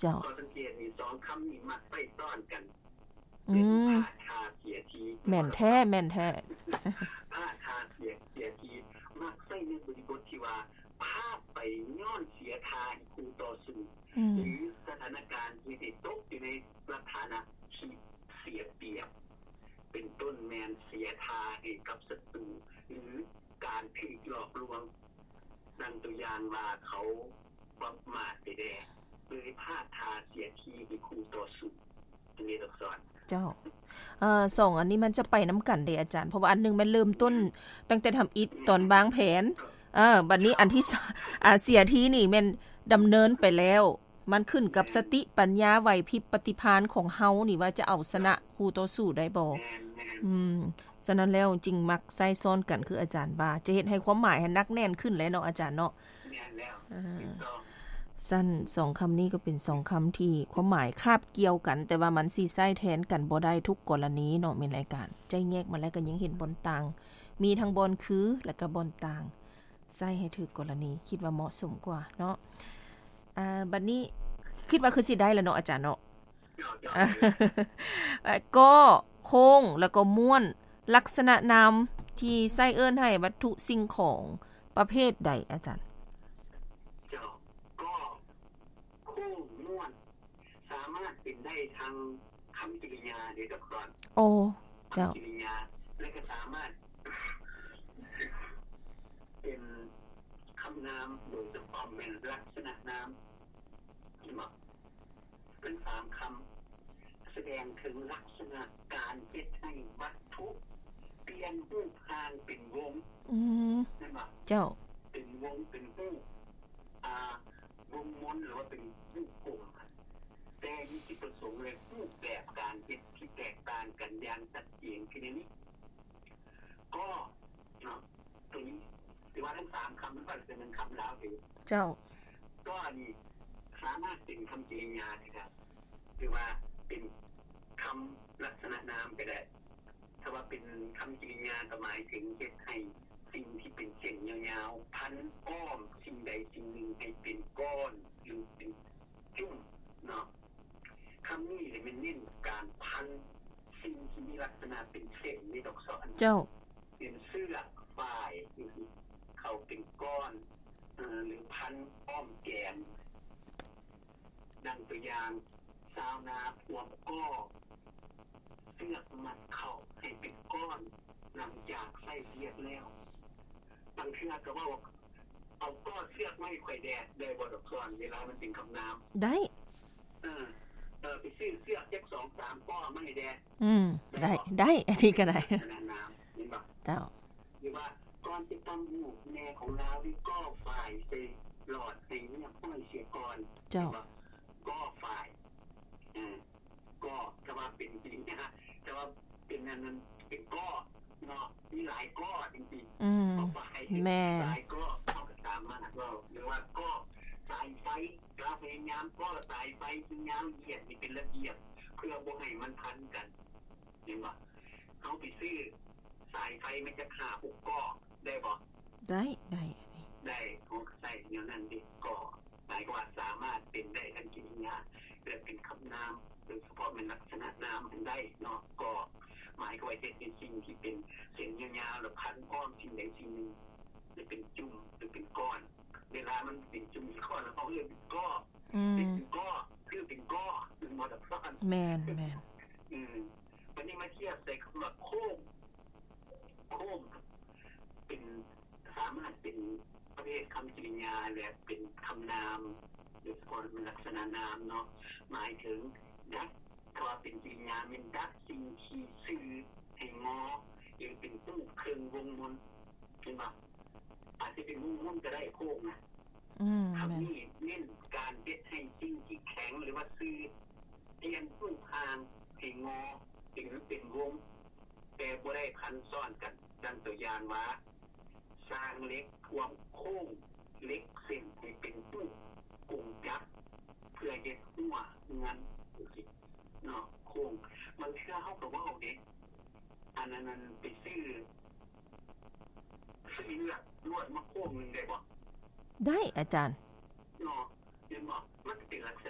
ເຈົ້າ ຂໍ້ສັງເກດນີ້ ສອງຄຳນີ້ມັກໃຊ້ຊ້ອນກັນ ອືມ ເປັນພາດທ່າເສຍທີ ແມ່ນແທ້ ແມ່ນແທ້ ພາດທ່າເສຍ ເສຍທີ ມັກໃຊ້ໃນບໍລິບົດທີ່ວ່າ ພາດໄປຍ້ອນເສຍທ່າໃຫ້ຄູ່ຕໍ່ສູ້ ອືມ ຫຼືສະຖານະການທີ່ໄດ້ຕົກຢູ່ໃນສະຖານະທີ່ເສຍປຽບ ເປັນຕົ້ນແມ່ນເສຍທ່າໃຫ້ກັບສັດຕູ ຫຼື ການຖືກຫຼອກລວງ ດັ່ງຕົວຢ່າງວ່າເຂົາປະໝາດແດ່ໆ ເລີຍພາດທ່າເສຍທີໃຫ້ຄູ່ຕໍ່ສູ້ ອັນນີ້ດອກສອນ ເຈົ້າ ເອີ ສອງອັນນີ້ມັນຈະໄປນຳກັນເດ້ອາຈານ ເພາະວ່າອັນໜຶ່ງແມ່ນເລີ່ມຕົ້ນຕັ້ງແຕ່ທຳອິດຕອນວາງແຜນ ເອີ ບັດນີ້ອັນທີສາມ ອາ ເສຍທີນີ້ແມ່ນດຳເນີນໄປແລ້ວ ມັນຂຶ້ນກັບສະຕິປັນຍາໄຫວພິບປະຕິພານຂອງເຮົານີ້ວ່າຈະເອົາຊະນະຄູ່ຕໍ່ສູ້ໄດ້ບໍ່ ແມ່ນໆ ອືມ ສະນັ້ນແລ້ວຈຶ່ງມັກໃຊ້ຊ້ອນກັນ ຄືອາຈານວ່າ ຈະເຮັດໃຫ້ຄວາມໝາຍຫັ້ນໜັກແໜ້ນຂຶ້ນແຫຼະເນາະອາຈານເນາະ ແມ່ນແລ້ວ ເອີ ຖືກຕ້ອງ ຊັ້ນສອງຄຳນີ້ກໍເປັນສອງຄຳທີ່ຄວາມໝາຍຄາບກ່ຽວກັນ ແຕ່ວ່າມັນຊິໃຊ້ແທນກັນບໍ່ໄດ້ທຸກກໍລະນີເນາະ ແມ່ນລາຍການ ໃຈແຍກມາແລ້ວກໍຍັງເຫັນບ່ອນຕ່າງ ມີທັງບ່ອນຄື ແລະກໍບ່ອນຕ່າງ ໃຊ້ໃຫ້ຖືກກໍລະນີ ຄິດວ່າເໝາະສົມກວ່າເນາະ ອາ ບັດນີ້ຄິດວ່າຄືຊິໄດ້ແລ້ວເນາະອາຈານເນາະ ເຈົ້າ ເຈົ້າ ກໍ ໂຄ້ງ ແລ້ວກໍມ້ວນ ລັກສະນະນາມທີ່ໃຊ້ເອີ້ນໃຫ້ວັດຖຸສິ່ງຂອງປະເພດໃດອາຈານ? ເຈົ້າ ກໍ ໂຄ້ງ ມ້ວນ ສາມາດເປັນໄດ້ທັງຄຳກິລິຍາເດ້ດອກສອນ ໂອ້ ເຈົ້າ ຄຳກິລິຍາ ແລະກໍສາມາດເປັນຄຳນາມ ໂດຍສະເພາະແມ່ນລັກສະນະນາມ ເຫັນບໍ່? ເປັນສາມຄຳ ສະແດງເຖິງລັກສະນະການເຮັດໃຫ້ວັດຖຸປ່ຽນຮູບຮ່າງເປັນວົງ ອືມ ແມ່ນບໍ່? ເຈົ້າ ເປັນວົງ ເປັນຮູບ ອ່າ ວົງມົນ ຫຼືວ່າເປັນວົງກົມ ແຕ່ມີຈຸດປະສົງ ແລະ ຮູບແບບການເຮັດທີ່ແຕກຕ່າງກັນຢ່າງຊັດເຈນ ຄືໃນນີ້ ກໍ ເນາະ ຕົວນີ້ຖືວ່າທັງສາມຄຳມັນກໍເປັນຄຳລາວເດ້ ເຈົ້າ ກໍອັນນີ້ສາມາດເປັນຄຳກິລິຍາກໍໄດ້ ຫຼືວ່າເປັນຄຳລັກສະນະນາມກໍໄດ້ ຖ້າວ່າເປັນຄຳກິລິຍາກໍໝາຍເຖິງເຮັດໃຫ້ສິ່ງທີ່ເປັນເສັ້ນຍາວໆ ພັນອ້ອມສິ່ງໃດສິ່ງໜຶ່ງໃຫ້ເປັນກ້ອນ ຫຼື ເປັນຈຸ້ມເນາະ ຄຳນີ້ແຫຼະແມ່ນເນັ້ນການພັນສິ່ງທີ່ມີລັກສະນະເປັນເສັ້ນນີ້ດອກສອນ ເຈົ້າ ເປັນເຊືອກຝ້າຍຈັ່ງຊີ້ ເຂົ້າເປັນກ້ອນ ເອີ ຫຼື ພັນອ້ອມແກນ ດັ່ງຕົວຢ່າງ ຊາວນາພວມກໍເຊືອກມັດເຂົ້າໃຫ້ເປັນກ້ອນ ຫຼັງຈາກໃຊ້ວຽກແລ້ວ ບາງເທື່ອກໍເວົ້າ ເອົາກໍເຊືອກມາໃຫ້ຂ້ອຍແດ່ ໄດ້ບໍ່ດອກສອນ ເວລາມັນເປັນຄຳນາມ ໄດ້ ເອີ ເອີ ໄປຊື້ເຊືອກຈັກສອງສາມກໍມາໃຫ້ແດ່ ອືມ ໄດ້ບໍ່? ໄດ້ ໄດ້ ອັນນີ້ກໍໄດ້ ເປັນນາມ ເຫັນບໍ່? ເຈົ້າ ຫຼືວ່າກ່ອນຈະຕຳຫູກແມ່ຂອງລາວນີ້ກໍຝ້າຍໃສ່ຫຼອດໃຫ້ຮຽບຮ້ອຍເສຍກ່ອນ ເຈົ້າ ເຫັນບໍ່? ກໍຝ້າຍ ເອີ ກໍ ແຕ່ວ່າເປັນ ແຕ່ວ່າເປັນອັນນັ້ນ ເປັນກໍເນາະ ມີຫຼາຍກໍຈັ່ງຊີ້ ອືມ ກໍຝ້າຍ ແມ່ນ ຫຼາຍກໍ ເຮົາກໍສາມາດເວົ້າ ຫຼືວ່າກໍສາຍໄຟ ລາວພະຍາຍາມກໍສາຍໄຟທີ່ຍາວຢຽດໃຫ້ເປັນລະບຽບ ເພື່ອບໍ່ໃຫ້ມັນພັນກັນ ເຫັນບໍ່? ເຮົາໄປຊື້ສາຍໄຟມາຈັກຫ້າຫົກກໍໄດ້ບໍ່? ໄດ້ ໄດ້ ໄດ້ ເຮົາກໍໃຊ້ແນວນັ້ນເດ້ ກໍໝາຍຄວາມວ່າສາມາດເປັນໄດ້ທັງກິລິຍາ ແລະ ເປັນຄຳນາມ ໂດຍສະເພາະແມ່ນລັກສະນະນາມຫັ້ນໄດ້ເນາະ ກໍໝາຍຄວາມວ່າເຮັດໃຫ້ສິ່ງທີ່ເປັນເສັ້ນຍາວໆ ແລ້ວພັນອ້ອມສິ່ງໃດສິ່ງໜຶ່ງ ຫຼືເປັນຈຸ້ມ ຫຼືເປັນກ້ອນ ເວລາມັນເປັນຈຸ້ມເປັນກ້ອນ ເຮົາເອີ້ນເປັນກໍ ອືມ ເປັນກໍ ຄືເປັນກໍ ເປັນບໍ່ດອກສອນ ແມ່ນ ແມ່ນ ອືມ ບັດນີ້ມາທຽບໃສ່ຄຳວ່າໂຄ້ງ ໂຄ້ງ ເປັນ ສາມາດເປັນປະເພດຄຳກິລິຍາ ແລະ ເປັນຄຳນາມ ໂດຍສະເພາະເປັນລັກສະນະນາມເນາະ ໝາຍເຖິງດັດ ຖ້າວ່າເປັນກິລິຍາແມ່ນດັດສິ່ງທີ່ຊື່ໃຫ້ງໍ ຫຼືເປັນຮູບເຄິ່ງວົງມົນ ເຫັນບໍ່? ອາດຈະເປັນວົງມົນກໍໄດ້ ໂຄ້ງນະ ອືມ ຄຳນີ້ເນັ້ນການເຮັດໃຫ້ສິ່ງທີ່ແຂງ ຫຼືວ່າຊື່ ປ່ຽນຮູບຮ່າງໃຫ້ງໍ ເປັນ ເປັນວົງ ແຕ່ບໍ່ໄດ້ພັນຊ້ອນກັນ ດັ່ງຕົວຢ່າງວ່າ ສ້າງເຫຼັກພວມໂຄ້ງເຫຼັກເສັ້ນໃຫ້ເປັນຮູບກົງຈັກ ເພື່ອເຮັດຮົ້ວເຮືອນ ຈັ່ງຊີ້ເນາະ ໂຄ້ງ ບາງເທື່ອເຮົາກໍເວົ້າເດ້ ອັນນັ້ນ ອັນໄປຊື້ ຊື້ລວດ ລວດມາໂຄ້ງໜຶ່ງໄດ້ບໍ່? ໄດ້ອາຈານ